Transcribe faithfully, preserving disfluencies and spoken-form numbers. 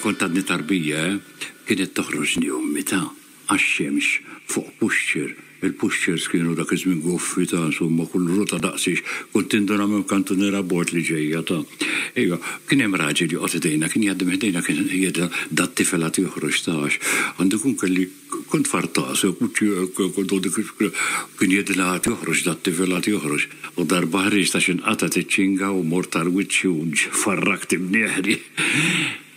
kont għadni tarbija, eh, kienet toħroġni ommi ta' għax-xemx fuq pushchair. Il-pushchairs kienu dak iż-żmien goffi ta' insomma, kull rota daqsix, kont tinduna minn kantuniera bord li ġejja ta'. Ejwa, kien hemm raġel joqgħod idejna, kien jgħaddi minn ħdejna, kien jgħidha dat-tifel għad joħroġ tax. Għandu jkun kelli kont fartas, kien jgħidilha għad joħroġ dat-tifel għad joħroġ. U darba ħriġt għax inqatgħet iċ-ċinga u mort għal wiċċi u farrakt imnieħri.